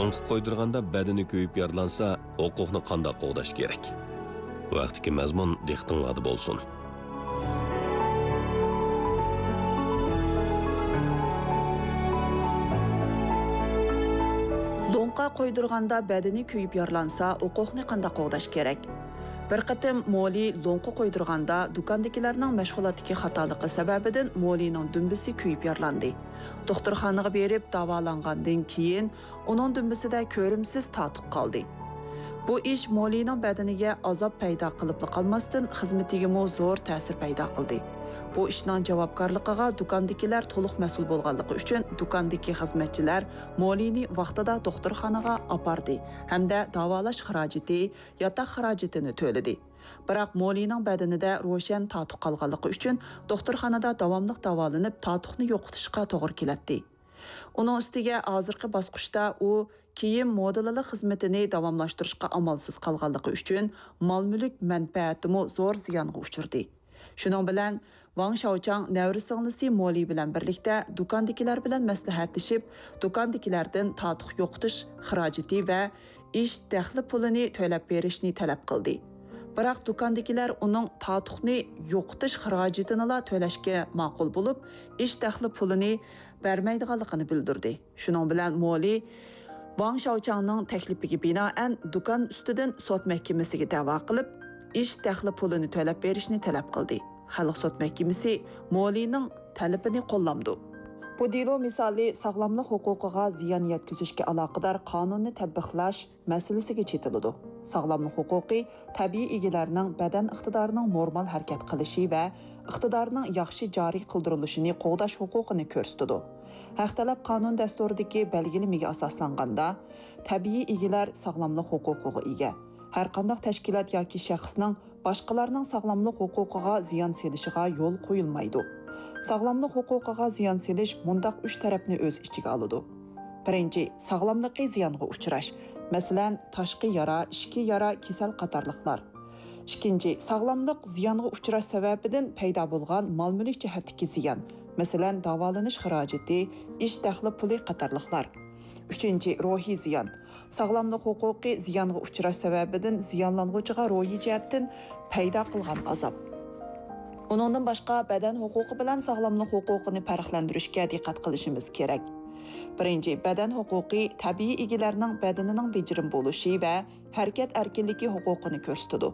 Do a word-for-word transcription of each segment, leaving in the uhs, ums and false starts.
لوڭقا قويدۇرغاندا بەدىنى كۆيۈپ يارىلانسا، ھوقۇقنى قانداق قوغداش كېرەك؟ بۇ ھەقتىكى مەزمۇن دىققىتىڭلاردا بولسۇن. لوڭقا قويدۇرغاندا بەدىنى كۆيۈپ يارىلانسا، ھوقۇقنى قانداق قوغداش كېرەك؟ بىر قېتىم مولى لوڭقا قويدۇرغاندا، دۇكاندىكىلەرنىڭ مەشغۇلاتتىكى خاتالىقى سەۋەبىدىن مولىنىڭ دۈمبىسى كۆيۈپ يارىلاندى. دوختۇرخانىغا بېرىپ داۋالانغاندىن كېيىن، ئۇنىڭ دۈمبىسىدە كۆرۈمسىز تاتۇق قالدى. بۇ ئىش مولىنىڭ بەدىنىگە ئازاب پەيدا قىلىپلا قالماستىن، خىزمىتىگىمۇ زور تەسىر پەيدا قىلدى. بۇ ئىشنىڭ جاۋابكارلىقىغا دۇكاندىكىلەر تولۇق مەسئۇل بولغانلىقى ئۈچۈن، دۇكاندىكى خىزمەتچىلەر مولىنى ۋاقتىدا دوختۇرخانىغا ئاپاردى ھەمدە داۋالاش خىراجىتى، ياتاق خىراجىتىنى تۆلىدى. بىراق مولىنىڭ بەدىنىدە روشەن تاتۇق قالغانلىقى ئۈچۈن، دوختۇرخانىدا داۋاملىق داۋالىنىپ، تاتۇقنى يوقىتىشقا توغرا كېلەتتى. ئۇنىڭ ئۈستىگە ھازىرقى باسقۇچتا ئۇ كىيىم مودېللىق خىزمىتىنى داۋاملاشتۇرۇشقا ئامالسىز قالغانلىقى ئۈچۈن، مال-مۈلۈك مەنپەئەتىمۇ زور زىيانغا ئۇچرىدى. شۇنىڭ بىلەن، ۋاڭ شياۋچاڭ نەۋرە سىڭلىسى مولى بىلەن بىرلىكتە دۇكاندىكىلەر بىلەن مەسلىھەتلىشىپ، دۇكاندىكىلەردىن تاتۇق يوقىتىش خىراجىتى ۋە ئىش دەخلى پۇلىنى تۆلەپ بېرىشنى تەلەپ قىلدى. بىراق دۇكاندىكىلەر ئۇنىڭ تاتۇقنى يوقىتىش خىراجىتىنىلا تۆلەشكە ماقۇل بولۇپ، ئىش دەخلى پۇلىنى بەرمەيدىغانلىقىنى بىلدۈردى. شۇنىڭ بىلەن مولى ۋاڭ شياۋچاڭنىڭ تەكلىپىگە بىنائەن دۇكان ئۈستىدىن سوت مەھكىمىسىگە دەۋا قىلىپ، ئىش دەخلى پۇلىنى تۆلەپ بېرىشنى تەلەپ قىلدى. خەلق سوت مەھكىمىسى مولىنىڭ تەلىپىنى قوللامدۇ. بۇ دېلو مىسالى ساغلاملىق ھوقۇقىغا زىيان يەتكۈزۈشكە ئالاقىدار قانۇننى تەتبىقلاش مەسىلىسىگە چېتىلىدۇ. ساغلاملىق ھوقۇقى تەبىئىي ئىگىلەرنىڭ بەدەن ئىقتىدارىنىڭ نورمال ھەرىكەت قىلىشى ۋە ئىقتىدارىنىڭ ياخشى جارى قىلدۇرۇلۇشىنى قوغداش ھوقۇقىنى كۆرسىتىدۇ. ھەق تەلەپ قانۇن دەستۇرىدىكى بەلگىلىمىگە ئاساسلانغاندا، تەبىئىي ئىگىلەر ساغلاملىق ھوقۇقىغا ئىگە. ھەرقانداق تەشكىلات ياكى شەخسنىڭ باشقىلارنىڭ ساغلاملىق ھوقۇقىغا زىيان سېلىشىغا يول قويۇلمايدۇ. ساغلاملىق ھوقۇقىغا زىيان سېلىش مۇنداق ئۈچ تەرەپنى ئۆز ئىچىگە ئالىدۇ. بىرىنچى، ساغلاملىقى زىيانغا ئۇچراش. مەسىلەن، تاشقى يارا، ئىچكى يارا، كېسەل قاتارلىقلار. ئىككىنچى، ساغلاملىق زىيانغا ئۇچراش سەۋەبىدىن پەيدا بولغان مال-مۈلۈك جەھەتتىكى زىيان. مەسىلەن، داۋالىنىش خىراجىتى، ئىش دەخلى پۇلى قاتارلىقلار. ئۈچىنچى، روھىي زىيان. ساغلاملىق ھوقۇقى زىيانغا ئۇچراش سەۋەبىدىن زىيانلانغۇچىغا روھىي جەھەتتىن پەيدا قىلغان ئازاب. ئۇنىڭدىن باشقا، بەدەن ھوقۇقى بىلەن ساغلاملىق ھوقۇقىنى پەرقلەندۈرۈشكە دىققەت قىلىشىمىز كېرەك. بىرىنچى، بەدەن ھوقۇقى تەبىئىي ئىگىلەرنىڭ بەدىنىنىڭ بېجىرىم بولۇشى ۋە ھەرىكەت ئەركىنلىكى ھوقۇقىنى كۆرسىتىدۇ.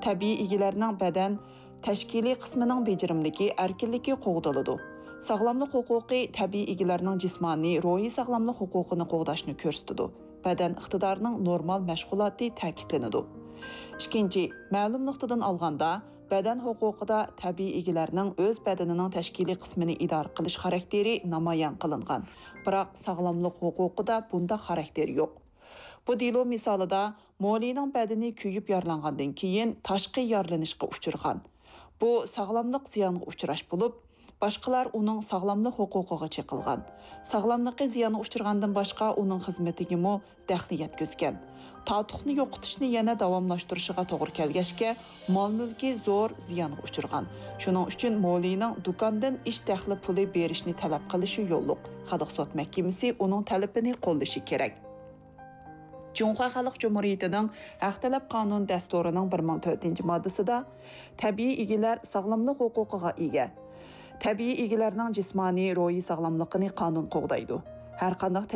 تەبىئىي ئىگىلەرنىڭ بەدەن تەشكىلىي قىسمىنىڭ بېجىرىملىكى، ئەركىنلىكى قوغدىلىدۇ. ساغلاملىق ھوقۇقى تەبىئىي ئىگىلەرنىڭ جىسمانىي، روھىي ساغلاملىق ھوقۇقىنى قوغداشنى كۆرسىتىدۇ. بەدەن ئىقتىدارىنىڭ نورمال مەشغۇلاتى تەكىتلىنىدۇ. ئىككىنچى، مەلۇم نۇقتىدىن ئالغاندا، بەدەن ھوقۇقىدا تەبىئىي ئىگىلەرنىڭ ئۆز بەدىنىنىڭ تەشكىلىي قىسمىنى ئىدارە قىلىش خاراكتېرى نامايان قىلىنغان. بىراق ساغلاملىق ھوقۇقىدا بۇنداق خاراكتېر يوق. بۇ دېلو مىسالىدا مولىنىڭ بەدىنى كۆيۈپ يارىلانغاندىن كېيىن تاشقى يارىلىنىشقا ئۇچرىغان. بۇ ساغلاملىق زىيانغا ئۇچراش بولۇپ، باشقىلار ئۇنىڭ ساغلاملىق ھوقۇقىغا چېقىلغان. ساغلاملىقى زىيانغا ئۇچرىغاندىن باشقا، ئۇنىڭ خىزمىتىگىمۇ دەخلى يەتكۈزگەن. تاتۇقنى يوقىتىشنى يەنە داۋاملاشتۇرۇشىغا توغرا كەلگەچكە، مال-مۈلكى زور زىيانغا ئۇچرىغان. شۇنىڭ ئۈچۈن مولىنىڭ دۇكاندىن ئىش دەخلى پۇلى بېرىشنى تەلەپ قىلىشى يوللۇق. خەلق سوت مەھكىمىسى ئۇنىڭ تەلىپىنى قوللىشى كېرەك. جۇڭخۇا خەلق جۇمھۇرىيىتىنىڭ ھەق تەلەپ قانۇن دەستۇرىنىڭ بىر مىڭ تۆتىنچى ماددىسىدا، تەبىئىي ئىگىلەر ساغلاملىق ھوقۇقىغا ئىگە. تەبىئىي ئىگىلەرنىڭ جىسمانىي، روھىي ساغلاملىقىنى قانۇن قوغدايدۇ. ھەرقانداق